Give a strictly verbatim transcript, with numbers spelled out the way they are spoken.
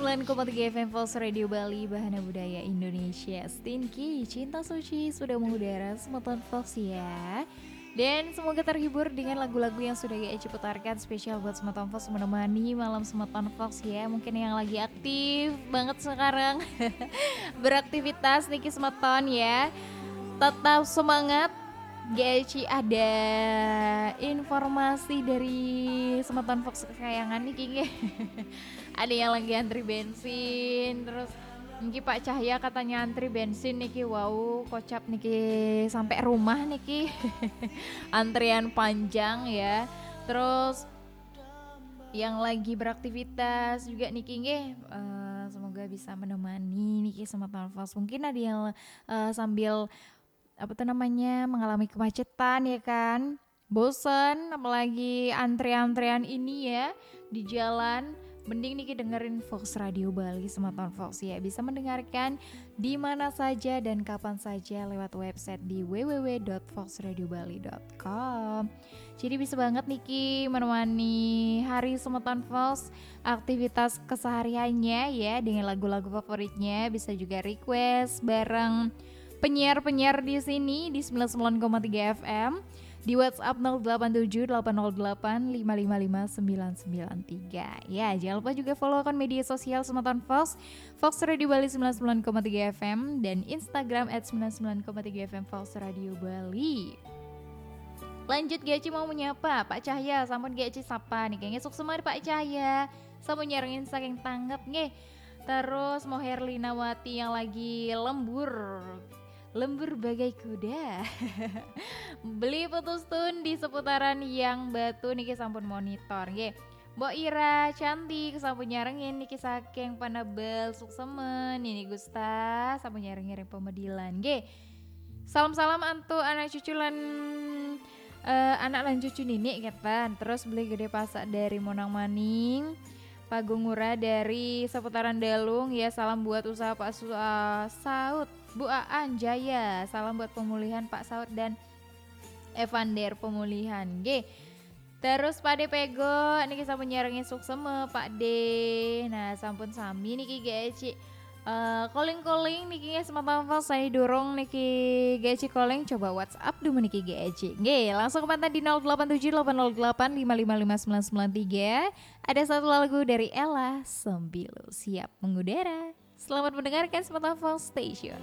Sembilan koma tiga F M Fox Radio Bali, Bahana Budaya Indonesia. Stinky, Cinta Suci sudah mengudara, semeton Fox ya. Dan semoga terhibur dengan lagu-lagu yang sudah G Eci putarkan, spesial buat semeton Fox, menemani malam semeton Fox ya. Mungkin yang lagi aktif banget sekarang beraktivitas niki semeton ya. Tetap semangat. G Eci ada informasi dari semeton Fox kesayangan niki nggih. Ada yang lagi antri bensin, terus niki Pak Cahya katanya antri bensin niki, wow, kocap niki sampai rumah niki. Antrian panjang ya. Terus yang lagi beraktivitas juga niki nggih, eh, semoga bisa menemani niki semeton Fox. Mungkin ada yang eh, sambil apa tuh namanya, mengalami kemacetan ya kan, bosen, apalagi antrean-antrean ini ya di jalan, mending niki dengerin Fox Radio Bali semeton Fox ya. Bisa mendengarkan di mana saja dan kapan saja lewat website di w w w dot fox radio bali dot com. Jadi bisa banget niki menemani hari semeton Fox, aktivitas kesehariannya ya, dengan lagu-lagu favoritnya. Bisa juga request bareng penyiar-penyiar di sini di sembilan sembilan koma tiga F M, di WhatsApp nol delapan tujuh delapan nol delapan lima lima lima sembilan sembilan tiga. Ya, jangan lupa juga follow akun media sosial semeton Fox, Fox Radio Bali sembilan sembilan koma tiga F M, dan Instagram at sembilan sembilan koma tiga F M Fox Radio Bali. Lanjut, G Eci mau menyapa Pak Cahya, sampun G Eci sapa nih, kayaknya suksma Pak Cahya, sampun nyarengin saking tanget nggih. Terus mau Herlinawati yang lagi lembur, lembur bagai kuda. Beli putus tun di seputaran Yang Batu niki sampun monitor nggih. Mbok Ira cantik sampun nyarengin niki saking Penebel, suksma. Nini Gusta sampun nyarengin ring Pemedilan nggih. Salam-salam antuk anak cucu lan eh, anak lan cucu nini ketan. Terus beli gede pasak dari Monang Maning. Pagung Ngurah dari seputaran Dalung ya, salam buat usaha Pak Su- eh, Saud, Bu Aan Jaya, salam buat pemulihan Pak Saud dan Evander pemulihan. Nggih. Terus Pak De Pego niki sampun nyarengin suksma Pak De. Nah, sampun sami niki G Eci. Eh, calling-calling niki nggih semeton Fox, saya dorong niki G Eci calling, coba WhatsApp dulu niki G Eci. Nggih, langsung ke mantan di nol delapan tujuh delapan nol delapan lima lima lima sembilan sembilan tiga. Ada satu lagu dari Ella Sembilu siap mengudara. Selamat mendengarkan semeton Fox Station.